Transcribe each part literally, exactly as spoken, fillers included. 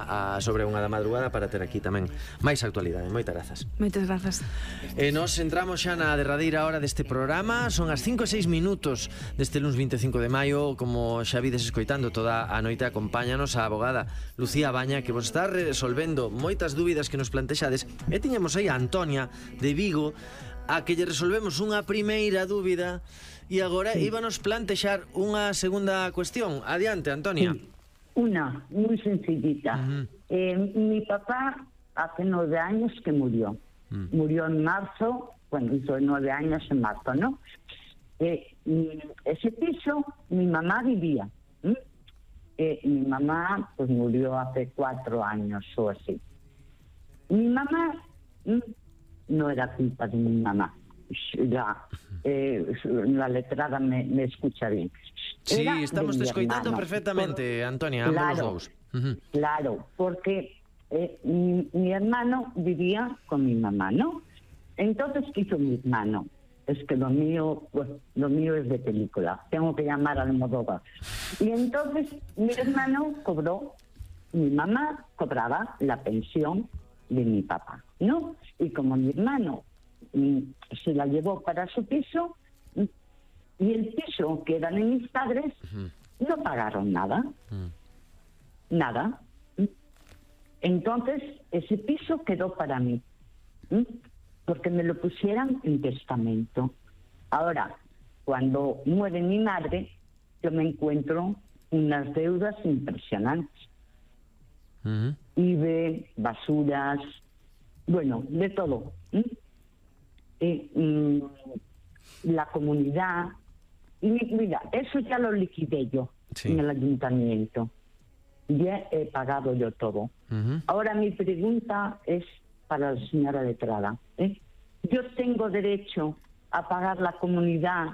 a, a sobre unha da madrugada para ter aquí tamén máis actualidade. Moitas grazas. Moitas grazas. E nos entramos xa na derradeira hora deste programa. Son as cinco e seis minutos deste luns vinte e cinco de maio. Como xa vides escoitando toda a noite, acompáñanos a abogada Lucía Baña, que vos está resolvendo moitas dúbidas que nos plantexades. E tiñamos aí a Antonia de Vigo, a que lle resolvemos unha primeira dúbida, e agora sí. íbanos plantexar unha segunda cuestión. Adiante, Antonia. Sí. Una, muy sencillita. Uh-huh. eh, mi papá hace nueve años que murió. Uh-huh. Murió en marzo, bueno, hizo nueve años en marzo, ¿no? Eh, ese piso, mi mamá vivía. ¿Mm? Eh, mi mamá, pues, murió hace cuatro años o así. Mi mamá... ¿Mm? No era culpa de mi mamá. Ya, eh, la letrada me, me escucha bien. Sí, Era estamos de te escoitando hermano. perfectamente, Por, Antonia, claro, ambos dous. Uh-huh. Claro, porque eh, mi, mi hermano vivía con mi mamá, ¿no? Entonces, ¿qué hizo mi hermano? Es que lo mío, pues, lo mío es de película. Tengo que llamar al Almodóvar. Y entonces mi hermano cobró, mi mamá cobraba la pensión de mi papá, ¿no? Y como mi hermano mm, se la llevó para su piso, mm, y el piso que eran de mis padres, uh-huh. no pagaron nada. Uh-huh. Nada. ¿Mm? Entonces, ese piso quedó para mí, ¿Mm? porque me lo pusieran en testamento. Ahora, cuando muere mi madre, yo me encuentro unas deudas impresionantes. Uh-huh. I B E, basuras, bueno, de todo. ¿Mm? Eh, mm, la comunidad. Y mira, eso ya lo liquidé yo sí. en el ayuntamiento. Ya he pagado yo todo. Uh-huh. Ahora mi pregunta es para la señora letrada. ¿eh? Yo tengo derecho a pagar la comunidad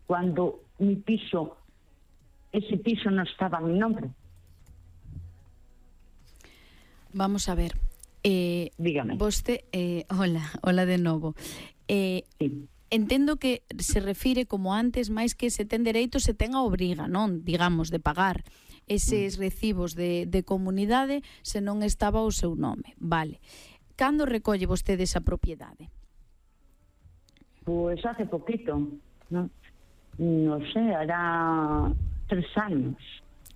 cuando mi piso, ese piso no estaba a mi nombre. Vamos a ver. Eh, Dígame. Voste, eh, hola, hola de novo. Eh, sí. Entendo que se refire como antes, máis que se ten dereito, se ten a obriga, non? Digamos, de pagar eses recibos de, de comunidade se non estaba o seu nome. Vale. Cando recolle vostede esa propiedade? Pues hace poquito, no, no sé, hará tres años.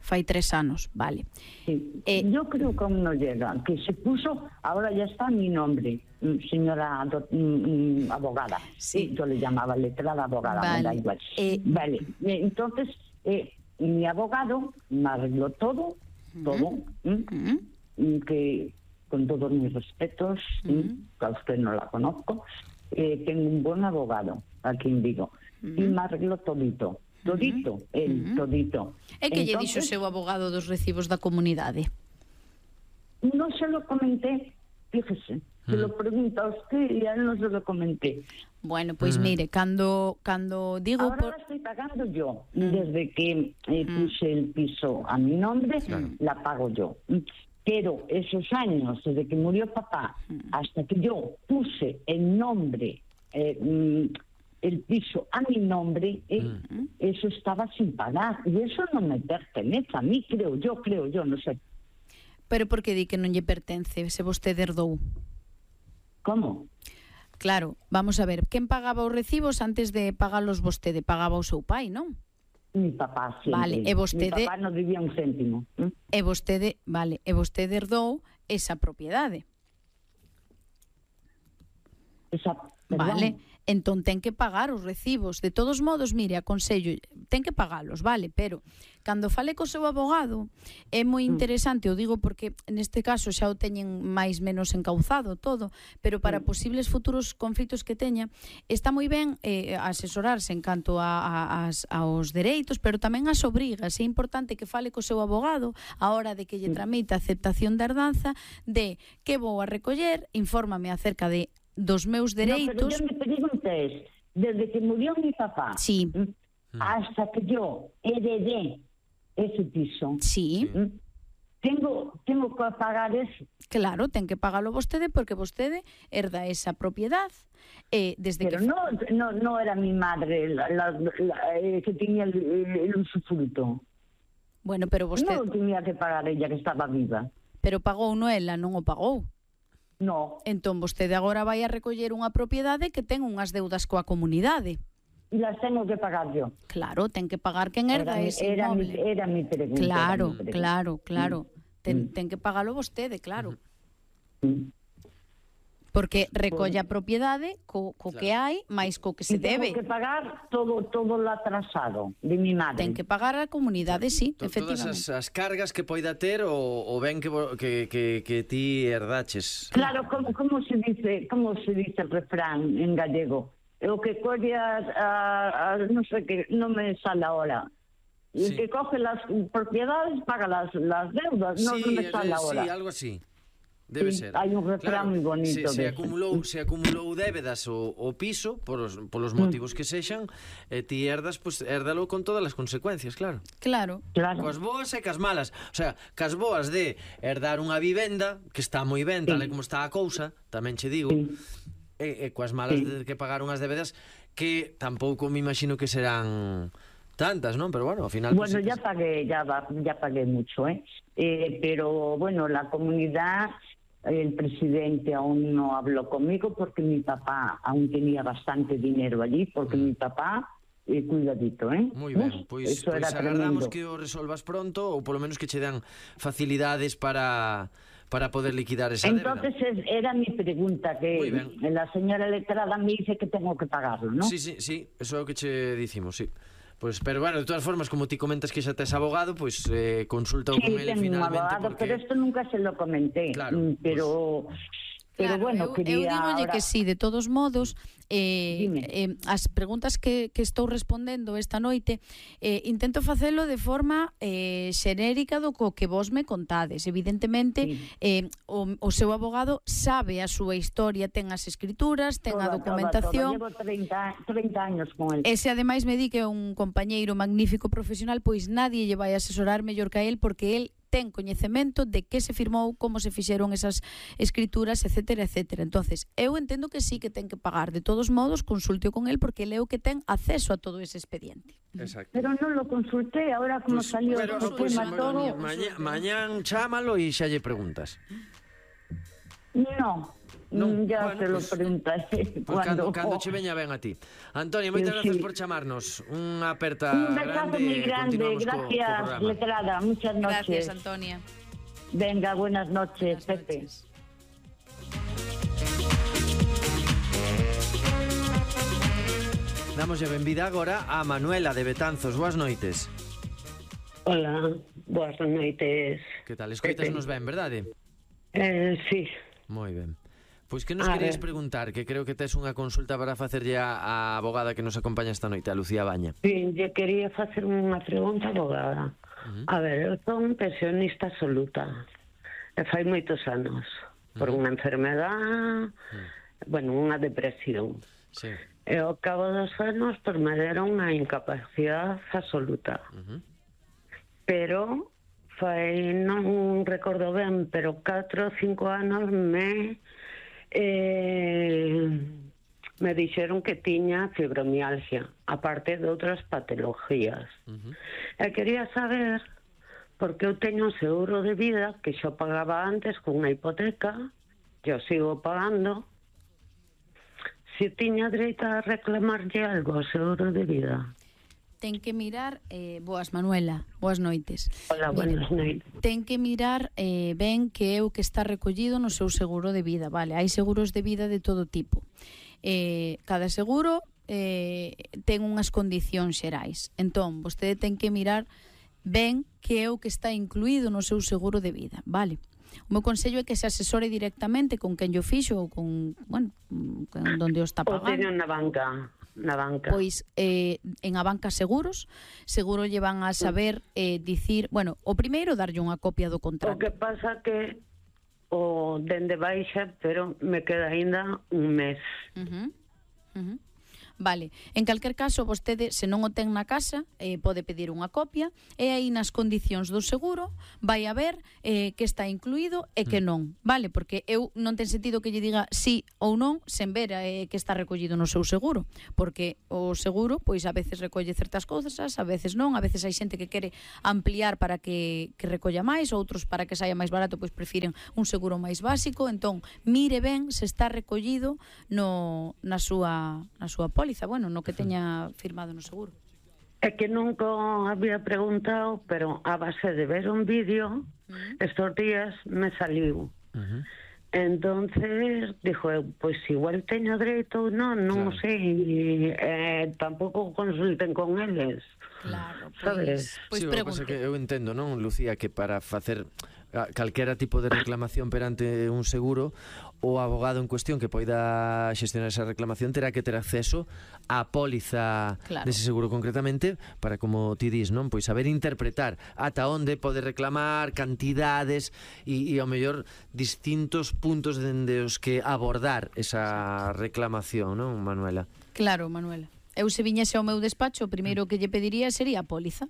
Fai tres anos, vale. Sí. Eh, Yo creo que aún no llega, que se puso, ahora ya está mi nombre, señora do, mm, abogada. Sí. Yo le llamaba letrada abogada, vale. me da igual. Eh, vale, entonces eh, mi abogado me arregló todo, uh-huh. todo, uh-huh. ¿m? que con todos mis respetos, uh-huh. que a usted no la conozco, eh, tengo un buen abogado aquí en Vigo, uh-huh. y me arregló todito. Todito, uh-huh. el uh-huh. todito. E que lle dixo o seu abogado dos recibos da comunidade? No se lo comenté, fíjese, uh-huh. se lo pregunta a usted y a él no se lo comenté. Bueno, pois pues, uh-huh. mire, cando cando digo... Ahora por... la estoy pagando yo, uh-huh. desde que eh, puse uh-huh. el piso a mi nombre, uh-huh. la pago yo. Pero esos años, desde que murió papá, uh-huh. hasta que yo puse el nombre... Eh, el piso a mi nombre, eh, uh-huh. eso estaba sin pagar. Y eso no me pertenece a mí, creo yo, creo yo, no sé. Pero por que di que non lle pertence se vostede herdou? Como? Claro, vamos a ver, quen pagaba os recibos antes de pagalos vostede? Pagaba o seu pai, non? Mi papá, sempre. Vale, e vostede... Mi papá non debía un céntimo. ¿eh? E vostede, vale, e vostede herdou esa propiedade. Esa, perdón. Vale, entón ten que pagar os recibos. De todos modos, mire, aconsello, ten que pagalos, vale, pero cando fale co seu abogado é moi interesante, o digo porque neste caso xa o teñen máis menos encauzado todo, pero para posibles futuros conflitos que teña, está moi ben eh, asesorarse en canto a, a, as, aos dereitos, pero tamén as obrigas. É importante que fale co seu abogado a hora de que lle tramite a aceptación da herdanza, de que vou a recoller, infórmame acerca de dos meus dereitos. No, pero yo me pregunté, desde que murió mi papá, sí. hasta que yo heredé ese piso, sí. tengo tengo que pagar eso. Claro, ten que pagalo vostede porque vostede herda esa propiedad. Eh, desde pero que... no, no, no era mi madre la, la, la, eh, que tenía el, el usufructo. Bueno, pero vostede... No tenía que pagar ella, que estaba viva. pero pagou no ela, non o pagou. No, Entón, vostede agora vai a recoller unha propiedade que ten unhas deudas coa comunidade. y las tengo que pagar yo. Claro, ten que pagar quen herda Era mi- ese era mi- inmoble. era mi pregunta, Claro, era mi pregunta. claro, claro. Ten, Mm. ten que pagalo vostede, claro. Mm. Porque recolle a propiedade co, co que hai, máis co que se Y tengo debe. que pagar todo todo lo atrasado de mi madre. Ten que pagar a comunidade, sí, To- Todas efectivamente. as, as cargas que poida ter o, o ben que, vo- que, que, que ti herdaches. Claro, como, como se dice, como se dice el refrán en gallego? O que colle a, a, a no sé qué, no me sale ahora. El Sí. que coge las propiedades paga las, las deudas, no, no me eh, sale ahora. sí, algo así. Debe Sí, ser. hai un refrán moi bonito Se, se, dese. acumulou, se acumulou débedas o, o piso por os, polos Mm. motivos que sexan, e ti herdas, pues, hérdalo con todas as consecuencias, claro. Claro. Claro. Coas boas e cas malas. O sea, cas boas de herdar unha vivenda, que está moi ben, tal e como está a cousa, tamén che digo, Sí. e, e coas malas Sí. de que pagar unhas débedas que tampouco me imagino que serán tantas, ¿non? Pero bueno, ao final... Bueno, pues, ya pagué, ya, va- ya pagué mucho, ¿eh? Eh, Pero bueno, la comunidad, el presidente aún no habló conmigo porque mi papá aún tenía bastante dinero allí, porque mi papá, eh, cuidadito, ¿eh? Moi ben, Uf, pois, eso pois era agardamos tremendo. que o resolvas pronto ou polo menos que che dan facilidades para para poder liquidar esa Entonces débeda. es- era mi pregunta, Muy que bien. la señora letrada me dice que tengo que pagarlo, ¿no? Sí, sí, sí, eso é o que che dicimos, sí. Pues, pero bueno, de todas formas, como ti comentas que xa tes abogado, pues eh, consulta Sí, con ele tengo un finalmente abogado, porque... pero esto nunca se lo comenté. Claro, Mm, pero, pero Claro, bueno, eu, quería eu dígolle ahora... que sí, de todos modos, eh, Dime. eh, as preguntas que, que estou respondendo esta noite, eh, intento facelo de forma eh, xenérica do co que vos me contades. Evidentemente, Sí. eh, o, o seu abogado sabe a súa historia, ten as escrituras, ten a Toda, documentación. toda, toda. Llevo treinta, treinta años con él. E se ademais me di que é un compañeiro magnífico profesional, pois nadie lle vai asesorar mellor que a él, porque él ten coñecemento de que se firmou, como se fixeron esas escrituras, etcétera, etcétera. Entonces, eu entendo que sí que ten que pagar. De todos modos, consulte con él porque ele é o que ten acceso a todo ese expediente. Exacto. Pero no lo consulté, ahora como Pues, salió pero, el pues, tema ma- todo... maña, mañán chámalo e xa lle preguntas. No, No, mm, ya bueno, te lo pues- preguntaré Pues cando, cuando... cando che veña ben a ti. Antonio, moitas Sí. gracias por chamarnos. Unha aperta Un besazo grande muy e grande, continuamos co, co gracias, programa. letrada, muchas noches. Gracias, Antonia. Venga, buenas noches, Buenas Pepe. noches. Damos a benvida agora a Manuela de Betanzos. Boas noites. Hola, boas noites. Que tal? Escoitasnos ben, verdade? Eh, sí, Moi ben. Pois que nos A querías ver. preguntar, que creo que tes unha consulta para facerlle a, a abogada que nos acompaña esta noite, a Lucía Baña. sí, lle quería facer unha pregunta abogada. Ujú. A ver, eu son pensionista absoluta. E fai moitos anos. Por unha enfermedad, bueno, unha depresión. Sí. E ao cabo dos anos, pues, me deron unha incapacidade absoluta. Ujú. Pero fai, non recordo ben, pero catro ou cinco anos me eh, me dixeron que tiña fibromialgia, aparte de outras patologías. Ujú. E quería saber, porque eu teño un seguro de vida que xo pagaba antes con unha hipoteca, yo sigo pagando, se tiña dereito a reclamarlle algo ao seguro de vida. Ten que mirar, eh, boas Manuela, boas noites. Hola, buenas noites. Ten que mirar eh, ben que é o que está recollido no seu seguro de vida, vale? Hai seguros de vida de todo tipo. Eh, cada seguro eh, ten unhas condicións xerais. Entón, vostede ten que mirar ben que é o que está incluído no seu seguro de vida, vale? O meu consello é que se asesore directamente con quen yo fixo ou con, bueno, con donde o está O teño pagando. na banca, na banca. Pois eh, en a banca seguros, seguro lle van a saber eh, dicir, bueno, o primeiro darlle unha copia do O contrato. que pasa que o dende baixa, pero me queda aínda un mes. Uh -huh. Uh -huh. Vale, en calquer caso, vostede, se non o ten na casa, eh, pode pedir unha copia, e aí nas condicións do seguro vai a ver eh, que está incluído e que non, vale? Porque eu non ten sentido que lle diga sí ou non sen ver eh, que está recollido no seu seguro, porque o seguro, pois a veces recolle certas cousas, a veces non, a veces hai xente que quere ampliar para que, que recolla máis, outros para que saia máis barato, pois prefiren un seguro máis básico. Entón, mire ben se está recollido no, na súa na súa póliza, bueno, no que teña firmado no seguro. É que nunca había preguntado, pero a base de ver un vídeo, uh-huh. estos días me saliu. Uh-huh. Entonces, dijo, pues igual teño dereito ou non, non claro. sei, eh, tampouco consulten con eles. Claro, sabes? Pois, pois sí, pregunte. Que eu entendo, non, Lucía, que para facer calquera tipo de reclamación perante un seguro, o abogado en cuestión que poida xestionar esa reclamación terá que ter acceso á póliza claro. dese seguro concretamente para, como ti dis, non, pois saber interpretar ata onde pode reclamar, cantidades e, e ao mellor distintos puntos dende os que abordar esa reclamación, non, Manuela? Claro, Manuela. Eu se viñese ao meu despacho, o primeiro que lle pediría sería a póliza.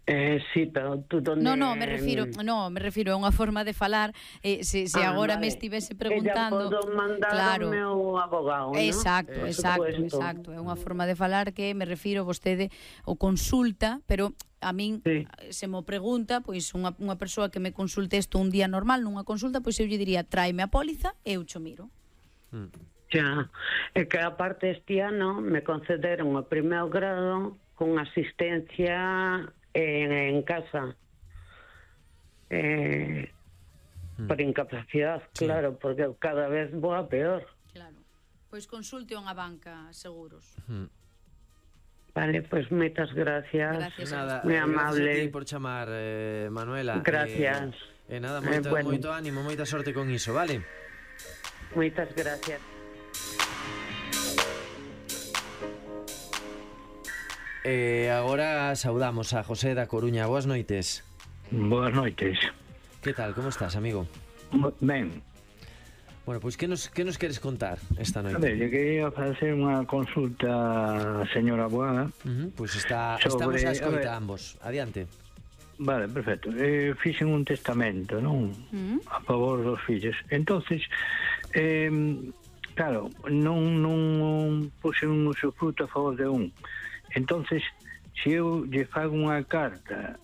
Eh, sí, pero tú donde... No, no, me refiro, no, me refiro a unha forma de falar, eh, se, se ah, agora vale. me estivese preguntando... Ella podo mandar claro. ao meu abogado, ¿no? Exacto, eh, exacto, supuesto. exacto. É unha forma de falar que me refiro vostede o consulta, pero a min sí. se mo pregunta, pois unha, unha persoa que me consulte isto un día normal nunha consulta, pois eu lle diría, tráeme a póliza e eu cho miro. Mm. Ya, é que aparte este ano me concederon o primeiro grado con asistencia... En, en casa eh, mm. por incapacidad, sí. claro, porque cada vez vou a peor. Claro, pois consulte unha banca seguros. Mm. Vale, pois pues moitas gracias. Gracias, nada, moi amable. Gracias a ti por chamar, eh, Manuela. Gracias. E eh, eh, nada, moito, eh, bueno. moito ánimo, moita sorte con iso, vale? Moitas gracias. E eh, agora saudamos a José da Coruña. Boas noites. Boas noites. Que tal, como estás, amigo? Ben. Bueno, pois pues, que nos, que nos queres contar esta noite? A ver, eu quería facer unha consulta, señora abogada. Uh -huh, pois pues está, sobre, estamos a escoita a ambos. Adiante. Vale, perfecto. Eh, fixen un testamento, non? Uh -huh. A favor dos fillos. Entonces, eh, claro, non, non puxen un usufruto a favor de un. Entonces, se eu lle fago unha carta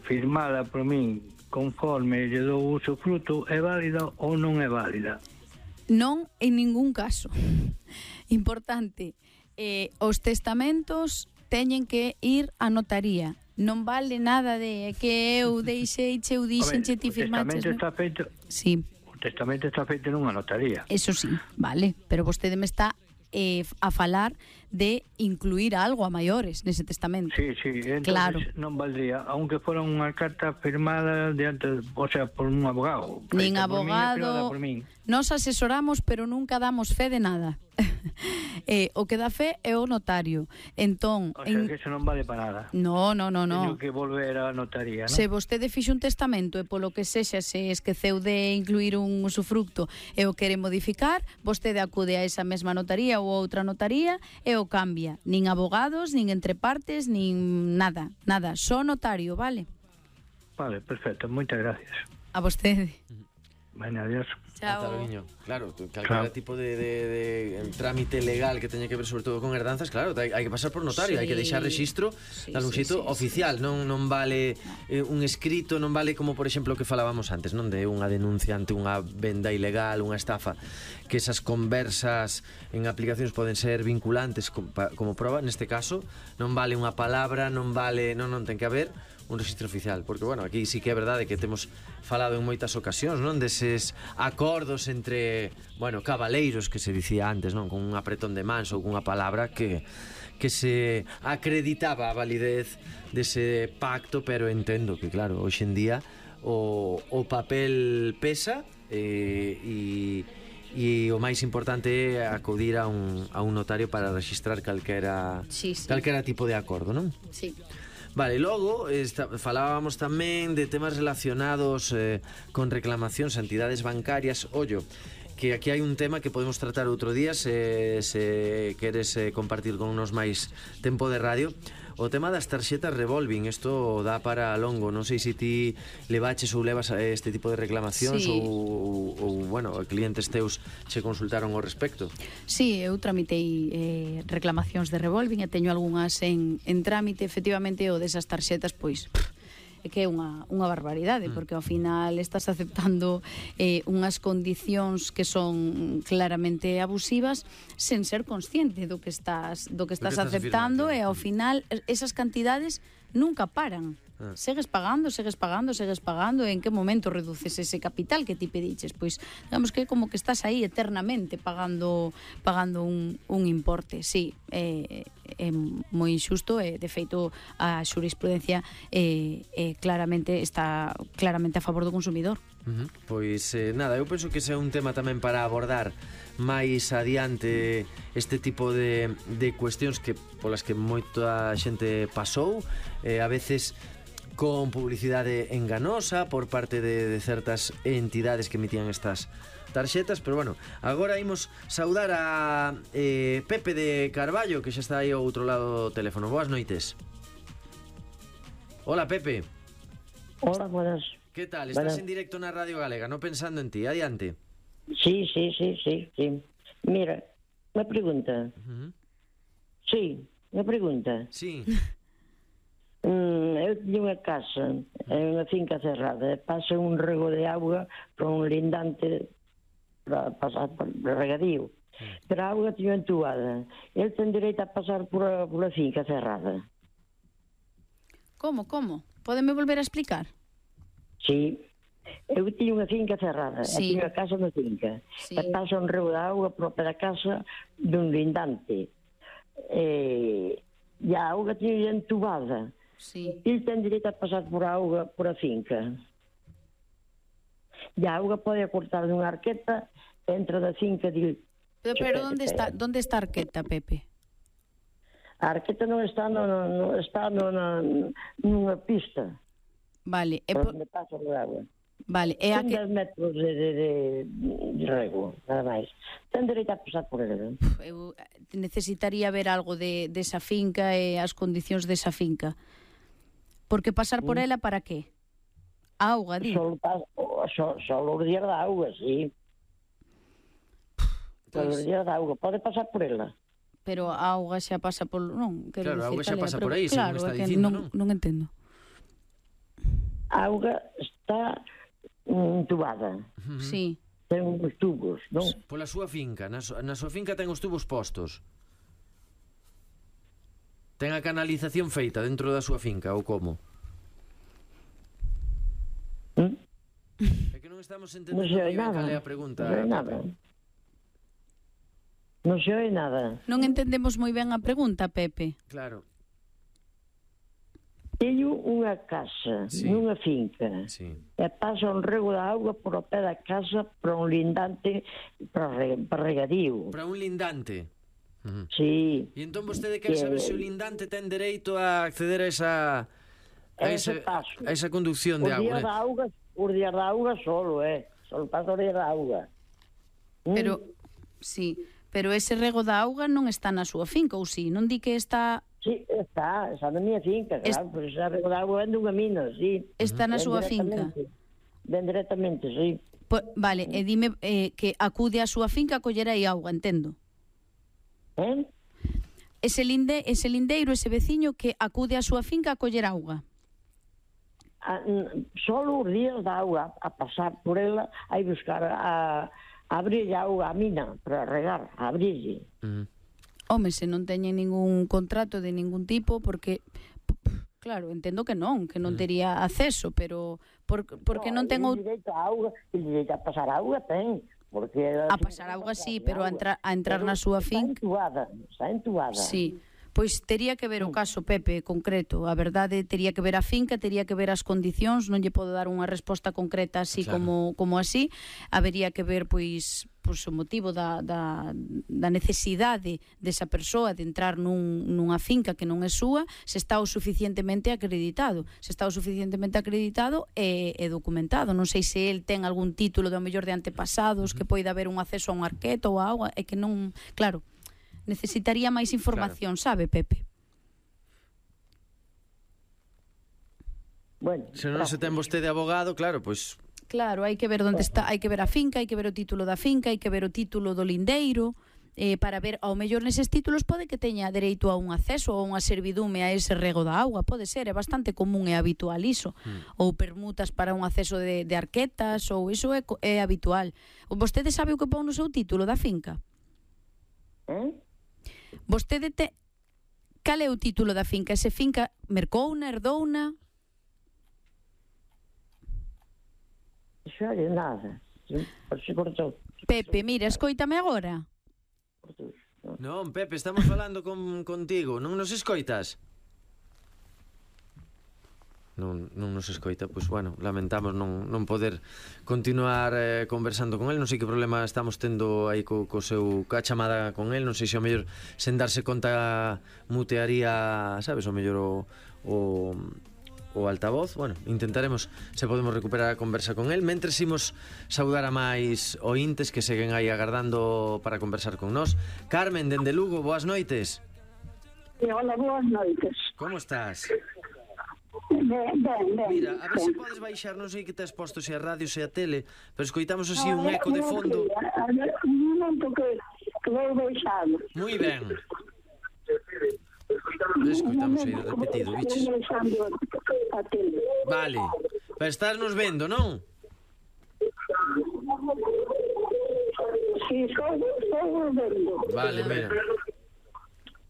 firmada por min conforme lle dou uso fruto, é válida ou non é válida? Non en ningún caso. Importante, eh, os testamentos teñen que ir á notaría. Non vale nada de que eu deixei, che eu dixen, che ti firmaches. O testamento está feito... Sí. O testamento está feito nunha notaría. Eso sí, vale, pero vostede me está eh, a falar de incluir algo a maiores nese testamento. Sí, sí, entonces claro. non valdría, aunque fora unha carta firmada diante, o sea, por un abogado. Nin abogado, nos asesoramos, pero nunca damos fe de nada. eh, o que dá fe é o notario. Entón, o sea, en... que eso non vale para nada. No, no, no, no. Teño que volver á notaría, non? Se vostede fixe un testamento e polo que sexa se esqueceu de incluir un usufructo e o quere modificar, vostede acude a esa mesma notaría ou outra notaría e o cambia. Nin abogados, nin entre partes, nin nada, nada, só notario, vale? Vale, perfecto, moitas gracias. A vostede. Bueno, adiós. Chao. Claro, calquera claro. tipo de, de, de trámite legal que teña que ver sobre todo con herdanzas, claro, hai, hai que pasar por notario, sí. hai que deixar registro sí, dal un xeito sí, sí, oficial, sí. non non vale eh, un escrito, non vale como por exemplo o que falábamos antes, non, de unha denuncia ante unha venda ilegal, unha estafa, que esas conversas en aplicacións poden ser vinculantes como, como prova, neste caso non vale unha palabra, non vale, non, non ten que haber un registro oficial, porque, bueno, aquí sí que é verdade que temos falado en moitas ocasións, non, deses acordos entre, bueno, cabaleiros que se dicía antes, non, con un apretón de mans ou cunha palabra que que se acreditaba a validez dese pacto, pero entendo que, claro, hoxe en día o, o papel pesa eh, e e o máis importante é acudir a un, a un notario para registrar calquera sí, sí. calquera tipo de acordo, non? Sí. Vale, logo esta, falábamos tamén de temas relacionados eh, con reclamacións a entidades bancarias. Ollo, que aquí hai un tema que podemos tratar outro día se, se queres eh, compartir con unos máis tempo de radio. O tema das tarxetas revolving, isto dá para longo. Non sei se ti levaches ou levas este tipo de reclamacións, sí. ou, ou, bueno, clientes teus che consultaron ao respecto. Sí, eu tramitei eh, reclamacións de revolving e teño algunhas en, en trámite. Efectivamente, o desas tarxetas, pois é que é unha, unha barbaridade, mm. porque ao final estás aceptando eh, unhas condicións que son claramente abusivas sen ser consciente do que estás do que estás, do que estás aceptando, e ao final esas cantidades nunca paran. Ah. Segues pagando, segues pagando, segues pagando, e en que momento reduces ese capital que ti pediches? Pois, digamos que como que estás aí eternamente pagando pagando un, un importe. Sí, é, é moi injusto, e de feito a xurisprudencia é, é claramente está claramente a favor do consumidor. Uh-huh. Pois eh, nada, eu penso que ese é un tema tamén para abordar máis adiante, este tipo de, de cuestións que polas que moita xente pasou, eh, a veces con publicidade enganosa por parte de, de certas entidades que emitían estas tarxetas. Pero bueno, agora imos saudar a eh, Pepe de Carballo, que xa está aí ao outro lado do teléfono. Boas noites. Hola, Pepe. Hola, buenas. Que tal? Estás buenas. En directo na Radio Galega, no pensando en ti. Adiante. Sí, sí, sí, sí, sí. Mira, una pregunta. Uh-huh. Sí, una pregunta. Sí. Mm, eu teño unha casa en unha finca cerrada, pasa un rego de auga para un lindante para pasar por regadío, pero a auga teño entubada. El ten dereito a pasar por a, por a finca cerrada. Como, como? Pódeme volver a explicar? Sí, eu teño unha finca cerrada, sí. E teño a casa na finca, sí. E pasa un rego de auga por a casa dun lindante, e, e a auga teño entubada. Sí. Ele ten dereito a pasar por a auga por a finca. E a auga pode cortar dunha arqueta, entra da finca de... Pero, pero onde está, onde está a arqueta, Pepe? A arqueta non está no, no, no está no, na, nunha pista. Vale, é por por... onde pasa o auga. Vale, é a que... dez metros de, de, de, de rego, nada máis. Ten dereito a pasar por ele. Eu necesitaría ver algo de, desa finca e as condicións desa finca. Porque pasar por ela para qué? A auga, di. Só, só, só os días da auga, sí. Só os días da auga. Pode pasar por ela. Pero a auga xa pasa por... Non, quero claro, a decir, auga xa pasa por aí, claro, según está é dicindo, non, non? non entendo. A auga está entubada. Uh-huh. Sí. Ten uns tubos, non? Pola súa finca, na, su, na súa finca ten os tubos postos. Ten a canalización feita dentro da súa finca, ou como? ¿Mm? É que non estamos entendendo Non se oi ben nada. cal é a pregunta. Non se oi nada. Non se oi nada. Non entendemos moi ben a pregunta, Pepe. Claro. Teño unha casa, Sí. nunha finca, Sí. e pasa un rego de auga por o pé da casa para un lindante para, re, para regadío. Para un lindante. Uh-huh. Sí. E entón vostede quer Que- saber se o lindante ten dereito a acceder a esa a Ese esa, paso. a esa conducción Os de días agua, da né? auga, os días da auga solo, eh. Solo pasa os días da auga. Mm. Pero, sí, pero ese rego da auga non está na súa finca, ou si? Non di que está... Sí, está, está na minha finca, Es- claro, porque ese rego da auga vende unha mina, sí. Está na Ven súa finca. directamente. Ven directamente, sí. Po, vale, e dime eh, que acude á súa finca a coller aí auga, entendo. Eh? Ese, linde, ese lindeiro, ese veciño que acude á súa finca a coller auga. A, n- solo os días da auga a pasar por ela, a ir buscar a, a abrir a auga a mina para regar, a abrirlle. Uh-huh. Home, se non teñen ningún contrato de ningún tipo, porque... p- Claro, entendo que non, que non tería acceso, pero por, porque non ten... o out- direito a auga, el direito a pasar a auga ten, porque A pasar auga sí, pero a entrar, a entrar na súa Está finca... entubada, está entubada. Sí, Pois tería que ver o caso, Pepe, concreto. A verdade, tería que ver a finca, tería que ver as condicións, non lle podo dar unha resposta concreta así Claro. como, como así. Habería que ver, pois, pois o motivo da, da, da necesidade desa persoa de entrar nun, nunha finca que non é súa, se está o suficientemente acreditado. Se está o suficientemente acreditado e, e documentado. Non sei se el ten algún título do mellor de antepasados, uh-huh. que poida haber un acceso a un arqueto ou a auga, e que non... Claro, necesitaría máis información, claro. Sabe, Pepe? Bueno, se non se ten vostede abogado, claro, pois... Claro, hai que ver onde está, hai que ver a finca, hai que ver o título da finca, hai que ver o título do lindeiro, eh, para ver, ao mellor neses títulos pode que teña dereito a un acceso ou unha servidume a ese rego da auga, pode ser, é bastante común e habitual iso, mm. ou permutas para un acceso de, de arquetas, ou iso é, é habitual. Vostede sabe o que pon no seu título da finca? Eh? Vostede te... Cal é o título da finca? Ese finca mercouna, herdouna? Xa é nada. Pepe, mira, escoítame agora. Non, Pepe, estamos falando con, contigo. Non nos escoitas? Non, non nos escoita, pois bueno, lamentamos non, non poder continuar eh, conversando con el. Non sei que problema estamos tendo aí co, co seu ca chamada con el. Non sei se ao mellor sen darse conta mutearía, sabes, ao mellor o, o o altavoz. Bueno, intentaremos se podemos recuperar a conversa con el. Mentres imos saudar a máis ointes que seguen aí agardando para conversar con nós. Carmen, dende Lugo, boas noites. Hola, boas noites. Como estás? Ben, ben, ben. Mira, a ver se podes baixar, non sei que te has posto, se a radio, se a tele, pero escoitamos así un eco de fondo. A ver, un momento que, que vou baixar. Moi ben. Escoitamos aí repetido, biches. Vale, pero estás nos vendo, non? Si, estou vendo. Vale, mira.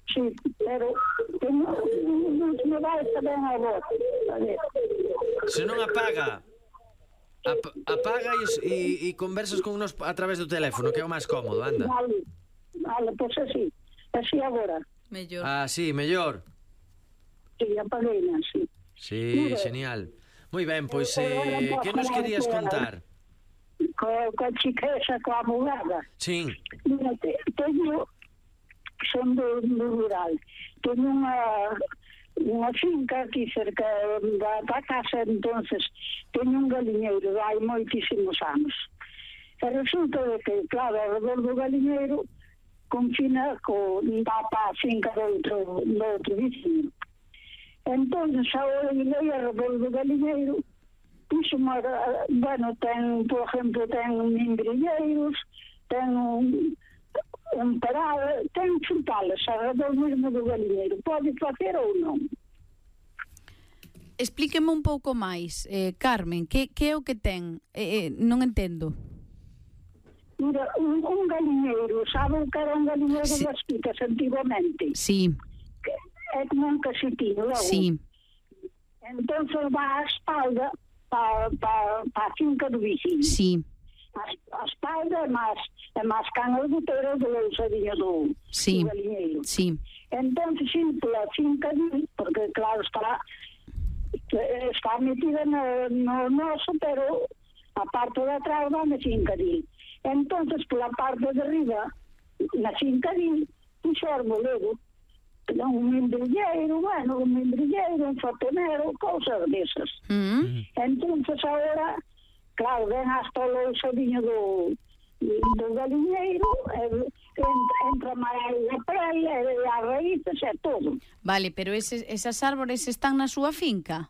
Sí, pero non me vai estar ben a voz. Se non apaga ap apaga e, e conversas con nos a través do teléfono, que é o máis cómodo, anda. Vale, vale, pois así. Así agora. Mellor. Ah, sí, mellor. Sí, apaguei, sí. Sí, genial. Moi ben, pois, eh, que nos querías contar? Co, co chiquesa, coa abogada. Sí. Mira, te, teño, son do, do rural, teño unha, unha finca aquí cerca da, da casa, entonces, teño un galiñeiro hai moitísimos anos. E resulta de que, claro, ao redor do galiñeiro, confina co, dá pa a finca do outro, do outro vecino. Entonces, ahora irei a redor do galiñeiro, puxo uma, bueno, ten, por exemplo, ten membrilleiros, ten un, un parado, ten frutales a redor mesmo do galiñeiro. Pode facer ou non? Explíqueme un pouco máis, eh, Carmen, que, que é o que ten? Eh, eh, non entendo. Mira, un, un galiñeiro, sabe o que era un galiñeiro sí. das picas antigamente? Sí. Que é como un casetín, logo. Sí. Entonces va a espalda para pa, pa a finca do vecino. Sí. A, a espalda é máis, é máis cana do teiro do ousadinho do, sí. do galiñeiro. Sí. Entonces, sí, pola finca de, porque claro, está está metida no, no noso, pero a parte de atrás va na finca de. Entonces, pola parte de arriba, na finca de, puxo arbolero, un membrilleiro, bueno, un membrilleiro, un fotonero, cousas desas. Mm -hmm. Entonces, agora, claro, ven hasta o lousadinho do, do galiñeiro, e, entra, entra máis a praia, e as raíces, e todo. Vale, pero eses, esas árbores están na súa finca?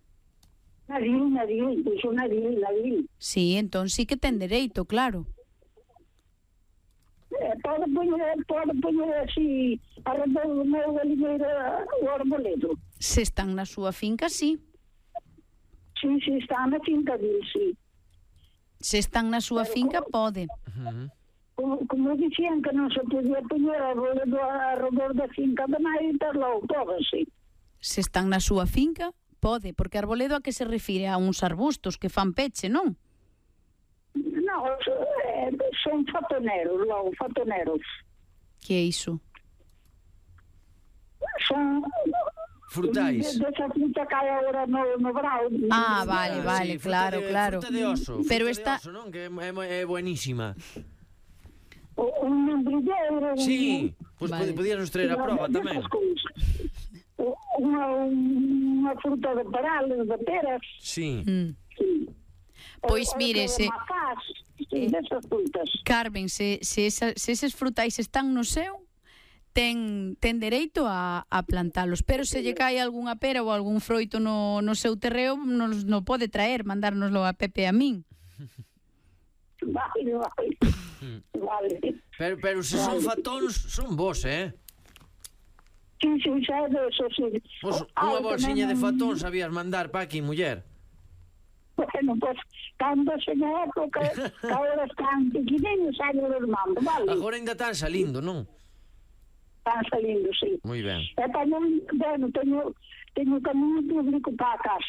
Nadil, nadil, puxo nadil, nadil. Sí, entón sí que ten dereito, claro. Eh, pode poñer, pode poñer así arredor do meu galiñeiro o arboledo. Se están na súa finca, sí. Sí, sí, está na finca dele, sí. Se están na súa pero, finca, como, pode. Como, como dicían que non se podía poñer arboledo arredor da finca de nai, pero pode, sí. Se están na súa finca, pode, porque arboledo a que se refire? A uns arbustos que fan peche, non? No, son fotoneros, logo, fotoneros. Que é iso? Son Frutais. De, desa fruta que hai agora no, no brao. Ah, vale, Ah, vale, sí, fruta claro, de, claro. Fruta de oso, Pero fruta esta... de oso, non? Que é, é, é buenísima. O, un membrilleiro. Sí, pois Vale. vale. Podías nos traer a prova tamén. Unha, unha fruta de parales, de peras. Sí. Mm. Sí. Pois O- o mire, de se- macás, sí, desas frutas. Carmen, se, se, esa, se eses frutais están no seu, ten, ten dereito a, a plantalos, pero se lle cae algunha pera ou algún froito no, no seu terreo, nos no pode traer, mandárnoslo a Pepe e a min. Vale, vale. Vale. Pero, pero se son fatóns, son vos, eh? Sí, sí, xa é de eso, sí. Vos Ah, unha bolsiña de tamén- fatón sabías mandar pa aquí, muller. Bueno, pues, cando se na época, que ahora están pequeninos, xa los mando, vale? Agora ainda están salindo, non? Están salindo, sí. Moi ben. E tamén, bueno, teño, teño camiño público para a casa.